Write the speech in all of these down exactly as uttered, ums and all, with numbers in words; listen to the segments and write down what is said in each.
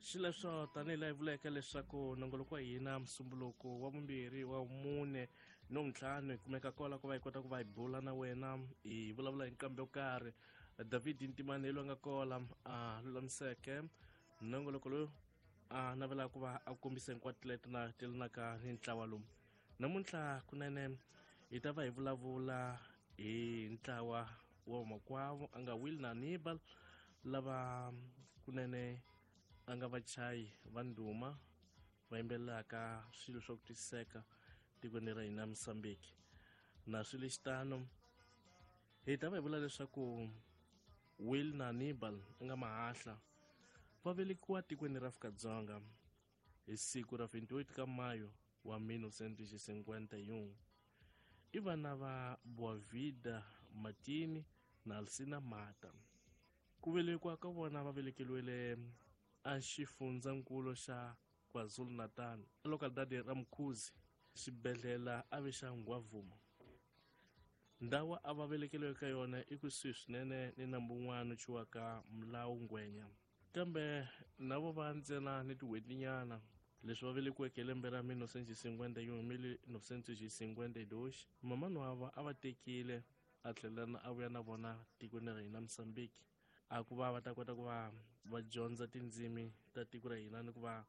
Xileswo tanihi laha hi vuleke leswaku nongoloko wa hina musumbuluko wa vumbirhi wa mune no ntlhanu hi kumeka kwala ku va hi kota ku va hi bula na wena hi vulavula hi nqambi yo karhi. David Ntimane hi loyi a nga kola a lulamiseke nongoloko lowu a navelaka ku va a kombisa hinkwato leti na telanaka ni ntlawa lowu. Namuntlha kunene hi ta va hi vulavula hi ntlawa wa vamakwavo a nga Will na Hannibal lava kunene a nga vachayi va ndhuma va yimbelelaka swilo swa ku twisiseka tikweni ra hina Mozambique. Na swilo lexitano hi ta va hi vula leswaku Will na Hannibal a nga mahahla va velekiwa tikweni ra Afrika-Dzonga hi siku ra twenty-eight ka Mayo wa mille neuf cent cinquante et un. I vana va Boavida Martini na Alcina Mata. Ku velekiwa ka vona va velekeriwile a xifundzankulu xa KwaZulu-Natal, localidade ra Mkhuzi, xibedhlele a ve xa Ngwavuma. Ndhawu a va velekeriwe ka yona i kusuhi swinene ni nambu wun'wana thyiwaka Mulawu Ngwenya. Kambe na vo va ntsena ni tin'hwetinyana leswi va velekiweke hi lembe ra mille neuf cent cinquante et un, mille neuf cent cinquante deux, mamani wa va a va tekile a tlhela a vuya na vona tikweni ra hina Mozambique, a ku va va ta kota ku va va dyondza tindzimi ta tiko ra hina ni ku va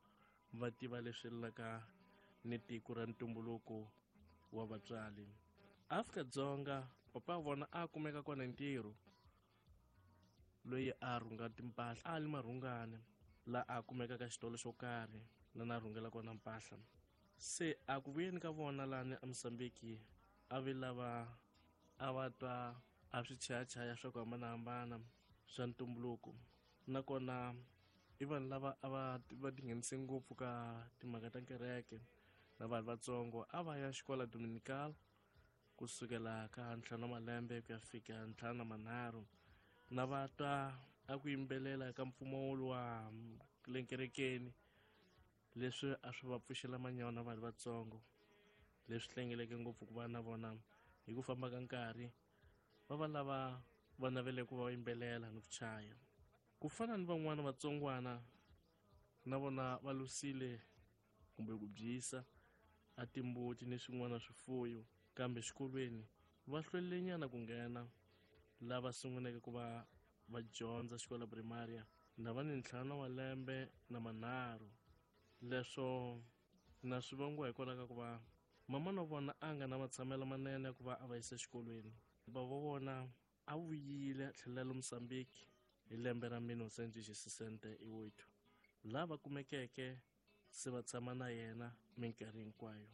va tiva leswi laka ni tiko ra ntumbuluko wa vatswari. Afrika-Dzonga papa wa vona a kumeka kona ntirho loyi a rhunga timpahla, a li marhungane la a kumeka ka xitolo xo karhi la na rhungela kona mpahla. Se a ku vuyeni ka vona lani a Mozambique a vi lava a va twa a swi chayachaya swa ku hambanahambana swa ntumbuluko, nakona i vanhu lava a va va tinghenise ngopfu ka timhaka ta kereke na vanhu vatsongo. A va ya xikola Dominical kusukela ka ntlhanu wa malembe ku ya fika ntlhanu na manharhu, na va twa a ku yimbelela ka mpfumawulo wa le kerekeni leswi a swi va pfuxela manyana vanhu vatsongo, leswi hlengeleke ngopfu ku va na vona hi ku famba ka nkarhi va va lava va navele ku va yimbelela ni ku chaya. Ku fana ni van'wana vatsongwana na vona va lusile kumbe ku byisa a timbuti ni swin'wana swifuyo, kambe xikolweni va hlwelenyana ku nghena. Lava sunguleke ku va va dyondza xikolo primaria na va ni ntlhanu wa lembe na manharhu. Leswo na swi vangiwa hikwalaho ka ku va mama na vona a nga na matshamelo manene ya ku va a va yisa exikolweni. Bava vona a vuyile a tlhelela le Mozambique hi lembe ra mille neuf cent sesenta e oito, laha va kumekeke se va tshama na yena minkarhi hinkwayo.